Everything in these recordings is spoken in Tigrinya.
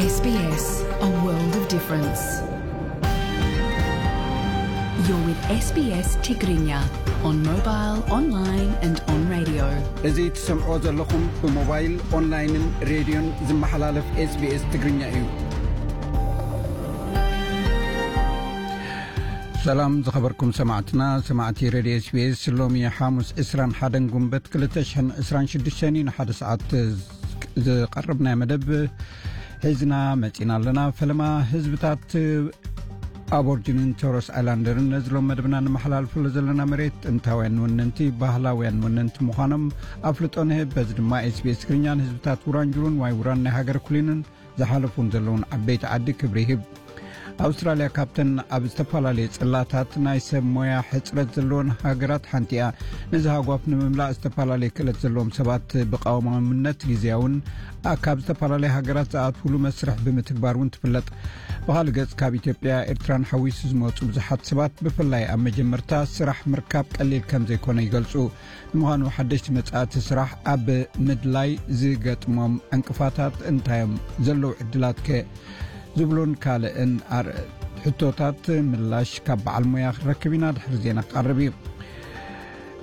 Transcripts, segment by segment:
S B S, a world of difference. You're with S B S Tigrinya on mobile, online and on radio. እዚ ትሰምዖ ዘለኹም ብሞባይል፣ ኦንላይንን ሬድዮን ዝመሓላለፍ S B S ትግርኛ እዩ። ሰላም ዝኸበርኩም ሰማዕትና፣ ሰማዕቲ ሬድዮ S B S፣ ሎሚ ሓሙስ ዕስራን ሓደን ጉንበት ክልተ ሽሕን ዕስራን ሽዱሽተን እዩ። ንሓደ ሰዓት ዝቐርብ ናይ መደብ ሒዝና መጺና ኣለና። ፈለማ ህዝብታት ኣቦርጅንን ቶረስ ኣይላንደርን ነዚ ሎም መደብና ንመሓላልፈሉ ዘለና መሬት ጥንታውያን ወነንቲ፣ ባህላውያን ወነንቲ ምዃኖም ኣፍልጦ ንህብ። በዚ ድማ S B S ትግርኛ ንህዝብታት ውራንጁሩን ዋይ ውራን ናይ ሃገር ኩሊንን ዝሓለፉን ዘለውን ዓበይቲ ዓዲ ክብሪ ይህብ። ኣውስትራልያ ካብተን ኣብ ዝተፈላለየ ጽላታት ናይ ሰብ ሞያ ሕጽረት ዘለወን ሃገራት ሓንቲ እያ። ነዚ ሃጓፍ ንምምላእ ዝተፈላለየ ክእለት ዘለዎም ሰባት ብቐዋማምነት ግዜያውን ኣ-፣ ካብ ዝተፈላለየ ሃገራት ዝኣትውሉ መስርሕ ብምትግባር እውን ትፍለጥ። ብኻልእ ገጽ ካብ ኢትዮጵያ ኤርትራን ሓዊሱ ዝመጹ ብዙሓት ሰባት ብፍላይ ኣብ መጀመርታ ስራሕ ምርካብ ቀሊል ከም ዘይኮነ ይገልጹ። ንምዃኑ ሓደሽቲ መጻእቲ ስራሕ ኣብ ምድላይ ዝገጥሞም ዕንቅፋታት እንታይ እዮም? ዘለዉ ዕድላት ከ? ዝብሉን ካልእን ኣር-፣ ሕቶታት ምላሽ ካብ በዓል ሞያ ክንረክብ ኢና። ድሕሪ ዜና ክቐርብ እዩ።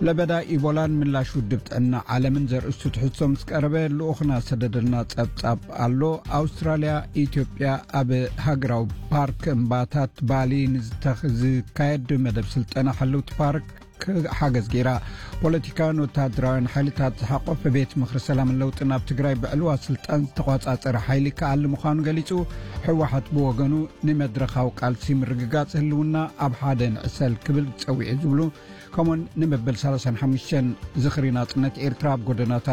ለበዳ ኢቦላን ምላሽ ውድብ ጥዕና ዓለምን ዘርእስቱ ትሕዝቶ ምስ ቀረበ ልኡኽና ሰደደልና ጸብጻብ ኣሎ። ኣውስትራልያ ኢትዮጵያ ኣብ ሃገራዊ ፓርክ እምባታት ባሊ ንዝተኽ-፣ ዝካየድ መደብ ስልጠና ሓለውቲ ፓርክ ሓገዝ ገይራ። ፖለቲካውያን ወተሃደራውያን ሓይልታት ዝሓቆፈ ቤት ምኽሪ ሰላምን ለውጥን ኣብ ትግራይ ብዕልዋ ስልጣን ዝተቋጻጸረ ሓይሊ ክኣሊ ምዃኑ ገሊጹ። ህወሓት ብወገኑ ንመድረኻዊ ቃልሲ ምርግጋጽ ህልውና ኣብ ሓደ ንዕሰል ክብል ጸዊዑ ዝብሉ፣ ከምኡውን ንመበል ሰላሳን ሓሙሽተን ዝኽሪ ናጽነት ኤርትራ ኣብ ጎደናታት